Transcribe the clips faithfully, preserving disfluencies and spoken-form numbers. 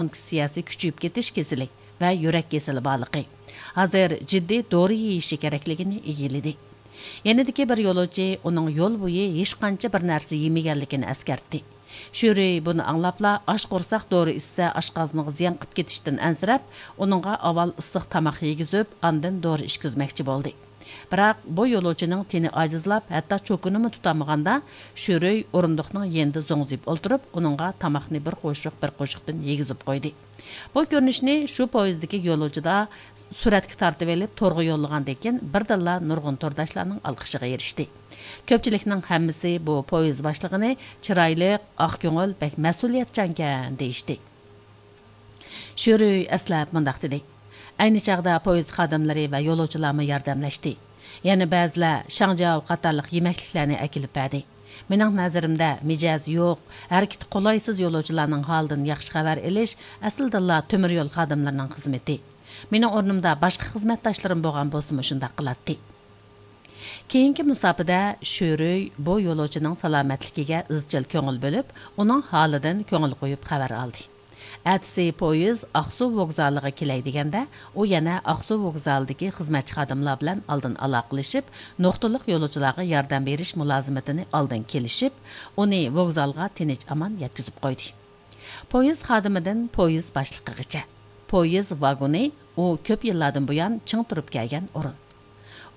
ئونكولوگىيەسى كۈچىيىپ كېتىش كېسىلى ۋە يۈرەك كېسىلى بارلىقى، ھازىر جىددىي دورا يېيىشى كېرەكلىكىنى ئىگىلىدى. يېنىدىكى بىر يولۇچى ئۇنىڭ يول بويى ھېچقانچە بىر نەرسە يېمىگەنلىكىنى ئەسكەرتتى. شۈرۈي بۇنى ئاڭلاپلا، ئاش قورساق دورا ئىچسە ئاشقازىنىغا زىيان قىلىپ كېتىشتىن ئەنسىرەپ، ئۇنىڭغا ئاۋۋال ئىسسىق تاماق يېگۈزۈپ، ئاندىن دورا ئىچكۈزمەكچى بولدى. بىراق بۇ يولۇچىنىڭ تېنى ئاجىزلاپ، ھەتتا چوكىنىمۇ تۇتالمىغاندا، شۈرۈي ئورۇندۇقنىڭ يېنىدا زوڭزىيىپ ئولتۇرۇپ، ئۇنىڭغا تاماقنى بىر قوشۇق، بىر قوشۇقتىن يېگۈزۈپ قويدى. بۇ كۆرۈنۈشنى شۇ پويىزدىكى يولۇچىدا سۈرەتكە تارتىۋېلىپ، تورغا يوللىغاندىن كېيىن، بىردىنلا نۇرغۇن تورداشلارنىڭ ئالقىشىغا ئېرىشتى. كۆپچىلىكنىڭ ھەممىسى بۇ پويىز باشلىقىنى چىرايلىق، ئاق كۆڭۈل، بەك مەسئۇلىيەتچانكەن دېيىشتى. شۈرۈي ئەسلەپ مۇنداق دېدى: ئەينى چاغدا پويىز خادىملىرى ۋە يولۇچىلارمۇ ياردەملەشتى. يەنە بەزىلەر شاڭجياۋ قاتارلىق يېمەكلىكلەرنى ئەكېلىپ بەردى. مېنىڭ نەزىرىمدە، مىجەزى يوق، ھەرىكىتى قولايسىز يولۇچىلارنىڭ ھالىدىن ياخشى خەۋەر ئېلىش ئەسلىدىنلا تۆمۈر يول خادىملىرىنىڭ خىزمىتى. مېنىڭ ئورنۇمدا باشقا خىزمەتداشلىرىم بولغان بولسىمۇ شۇنداق قىلاتتى. كېيىنكى مۇساپىدە شۈرۈي بۇ يولۇچىنىڭ سالامەتلىكىگە ئىزچىل كۆڭۈل بۆلۈپ، ئۇنىڭ ھالىدىن كۆڭۈل قويۇپ خەۋەر ئالدى. ئەتىسى پويىز ئاقسۇ ۋوگزالىغا كېلەي دېگەندە، ئۇ يەنە ئاقسۇ ۋوگزالىدىكى خىزمەتچى خادىملار بىلەن ئالدىن ئالاقىلىشىپ، نۇقتىلىق يولۇچىلارغا ياردەم بېرىش مۇلازىمىتىنى ئالدىن كېلىشىپ، ئۇنى ۋوگزالغا تىنچ-ئامان يەتكۈزۈپ قويدى. پويىز خادىمىدىن پويىز باشلىقىغىچە. پويىز ۋاگونى ئۇ كۆپ يىللاردىن بۇيان چىڭ تۇرۇپ كەلگەن ئورۇن.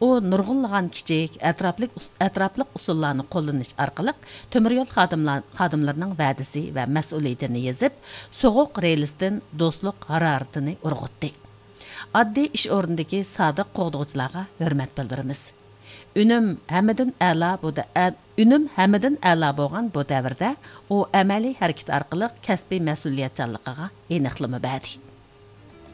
ئۇ نۇرغۇنلىغان كىچىك، ئەتراپلىق، ئەتراپلىق ئۇسۇللارنى قوللىنىش ئارقىلىق تۆمۈر يول خادىملار، خادىملىرىنىڭ ۋەدىسى ۋە مەسئۇلىيىتىنى يېزىپ، سوغۇق رېلىستىن دوستلۇق ھارارىتىنى ئۇرغۇتتى. ئاددىي ئىش ئورنىدىكى سادىق قوغدىغۇچىلارغا ھۆرمەت بىلدۈرىمىز. ئۈنۈم ھەممىدىن ئەلا بۇ دە-، ئە-، ئۈنۈم ھەممىدىن ئەلا بولغان بۇ دەۋردە ئۇ ئەمەلىي ھەرىكىتى ئارقىلىق كەسپىي مەسئۇلىيەتچانلىقىغا ئېنىقلىما بەردى.